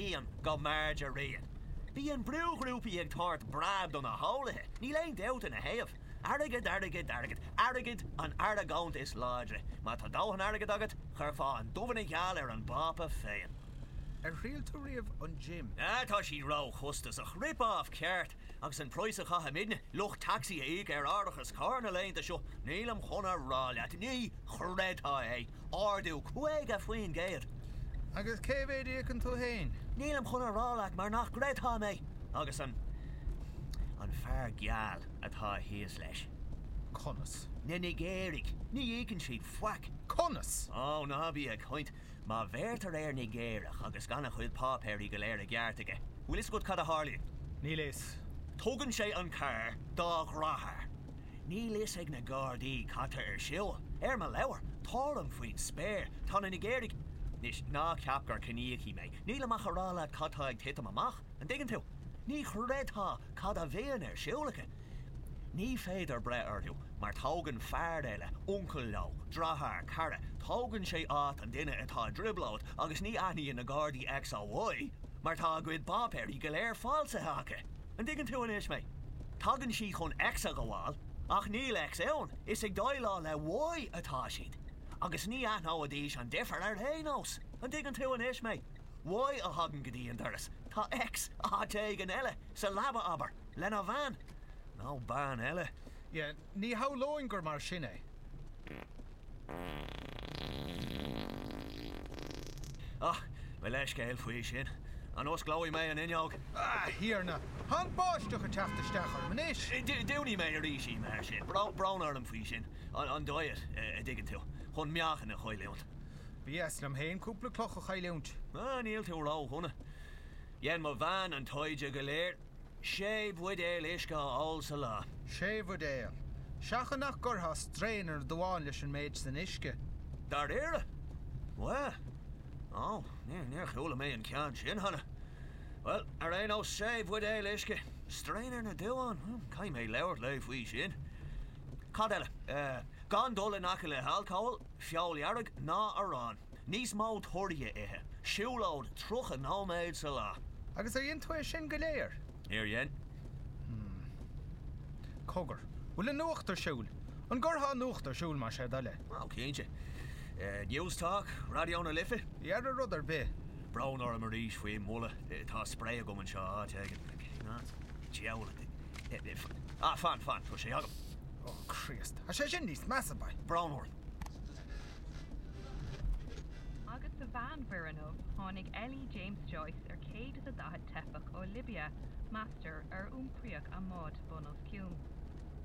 Aithním go mb'fhearrde rian. Bíonn brúghrúpaí ag tabhairt breab do na heolaithe, níl aon dabht ina thaobh. Airgead, airgead, airgead. Airgead an argóint is láidre. Má tá dóthain airgid agat, chuirfeá an dubh ina gheal ar an bPápa féin. Ar thriail tú riamh an gym? Ah, tá siad ró-chostasach. Rip-off ceart. Agus an praghas a chaithimidne, lucht tacsaí, a íoc ar árachas cairr na laethanta seo, nílim chun a rá leat, ní chreidfeá é, ardú 50%! Agus cé mhéad a íocann tú féin? Nílim chun a rá leat mar nach gcreidfeá mé! Agus an, an fear geal atá thíos leis. Conas? Na Nigéirigh, ní íocann siad faic. Conas? Ó, ná bí ag caint. Má bheirtear ar Nigéireach agus gan a chuid páipéirí go léir i gceart aige, bhfuil fhios agat cad a tharlaíonn? Níl fhios. Tugann sé an carr dá dheartháir. Níl fhios ag na Gardaí cad tá ar siúl. Ar mo leabhar, táram faoin spéir. Tá na Nigéirigh. Anois, ná ceap gur ciníochaí mé. Nílim ach a rá leat cad tá ag titim amach. An dtuigeann tú? Ní chreidfeá cad a bhíonn ar siúl acu. Ní féidir breith orthu mar tógann fear eile, uncail leo, deartháir, cara, tógann sé áit an duine atá i dtrioblóid agus ní aithníonn na Gardaí X ó Y mar tá a gcuid páipéirí go léir falsaithe acu. An dtuigeann tú anois mé? Tagann siad chun X a ghabháil ach níl X ann, is ag déileáil le Y atá siad. Agus ní aithneoidís an difear ar aon nós. An dtuigeann tú anois mé? Y a thagann go dtí an doras, tá X áit éigin eile, sa leaba abair. Lena bhean. Nó bean eile. Yeah, ní shamhlóinn gur mar sin é. Ah, mo leithscéal faoi sin. An osclóidh mé an fhuinneog? A Thiarna! Tá an bháisteach ag teacht isteach orm anois! Dúnfaidh mé arís í mar sin. Brón orm faoi sin. An diet, a dtuigeann tú. Chun meáchan a chailliúint. Ba dheas liom féin cúpla cloch a chailliúint. Ah, níl tú ródhona. Dhein mo bhean an taighde go léir. Sé bhuidéal uisce a ól sa lá. Sé bhuidéal. Seachain nach gcuirfeá straen ar na duáin leis an méid san uisce. Dáiríre? Bhuel. Ó, níor chuala mé an ceann sin cheana. Bhuel, ar aon nós, sé bhuidéal uisce. Straen ar na duáin? Caithfidh mé labhairt léi faoi sin. Cad eile? Gan dul in aice le halcól, feoil dhearg ná arán. Níos mó torthaí a ithe. Siúlóid 30 nóiméad sa lá. Agus ar dhein tú é sin go léir? Níor dhein. Hmm. Cogar. Bhfuil an nuacht ar siúl? An gcuirfeá an nuacht ar siúl más é do thoil é? Ó, cinnte. Newstalk? Raidió na Life? Dhera rud ar bith. Brón orm arís faoin mboladh. Tá sprae agam anseo áit éigin. Cén áit? Diabhal. Ah, fan, fan, tá sé agam. Ó, Críost. Tá sé sin níos measa, boy. Brón orm. Agus sa Mheánmhuir inniu, tháinig L.E. James Joyce ar 140 teifeach ó Libia, meastar, ar iompraíodh a mbád bun os cionn.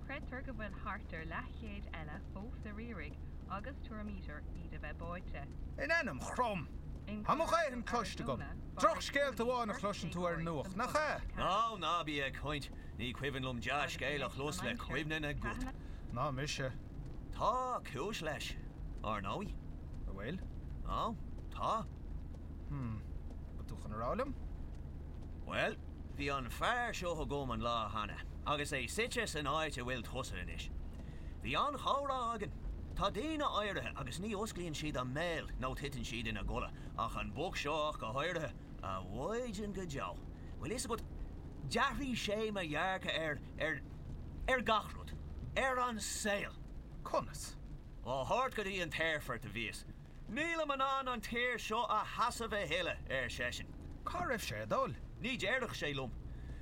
Creidtear go bhfuil thart ar leathchéad eile fós ar iarraidh agus tuairimítear iad a bheith báite. In ainm Chrom! In Tá mo Colorado, dhóthain cloiste agam. Arizona, mharaigh Drochscéalta póilíní amháin a beirt chloiseann tú ar an déagóirí nuacht, san nach ea? 84. Ó, ná bí ag caint. Ní cuimhin liom Agus dea-scéal a anois chlos an le aimsir, cuimhne na gcat. Cathain a. Ná mise. Tá cúis leis, ar ndóigh. An bhfuil? Ó, tá. Hmm. Bhfuil tú chun a rá liom? Bhuel, bhí an fear seo agam an lá cheana, agus é suite san áit a bhfuil tusa anois. Bhí an-chomhrá againn. Tá daoine áirithe agus ní osclaíonn siad a mbéal nó titeann siad ina gcodladh, ach an boc seo ach go háirithe, a mhaighdean go deo. Bhfuil fhios agat, d'athraigh sé mo dhearcadh ar, ar, ar gach rud. Ar an saol. Conas? Á thabhairt go dtí an t-aerfort a bhíos. Nílim in ann an tír seo a sheasamh a thuilleadh, ar seisean. Cá raibh sé ag dul? Ní déarfadh sé liom.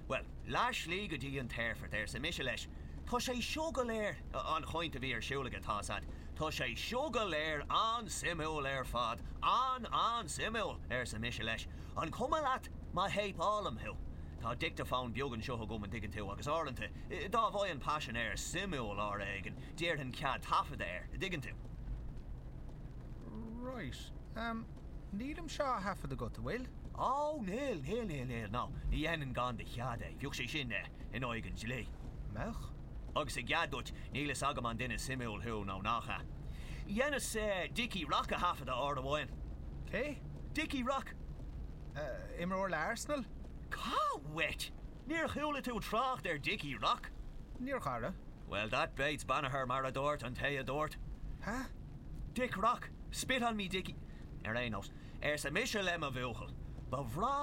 Bhuel, leath slí go dtí an t-aerfort, arsa mise leis. Tá sé seo go léir, an chaint a bhí ar siúl aige, tá's a'd, tá sé seo go léir an-suimiúil ar fad, an-an-suimiúil, arsa mise leis. An cuma leat má théipeálaim thú? Tá dicteafón beag anseo agam, an dtuigeann tú, agus uaireanta, dá bhfaighinn paisinéir suimiúil uair éigin, d'iarrfainn cead taifeadta air, an dtuigeann tú. Right. Em, níl an seo á thaifead agat, an bhfuil? Ó, níl, níl, níl, níl, no, ní dhéanfainn gan do chead é, bheadh sé sin, eh, in aghaidh an dlí. Mbeadh? Agus i gcead duit, níl fhios agam an duine suimiúil thú nó nach ea. Dheineas, eh, Dickie Rock a thaifeadadh uair amháin. Cé? Dickie Rock. Eh, imreoir le Arsenal? Cá uait? Níor chuala tú trácht ar Dickie Rock? Níor a chara. Well, that beats Banagher mar a dúirt an té a dúirt. Hah? Dick Rock, spit on me Dickie. Ar aon nós, arsa mise le mo bhuachaill, ba bhreá.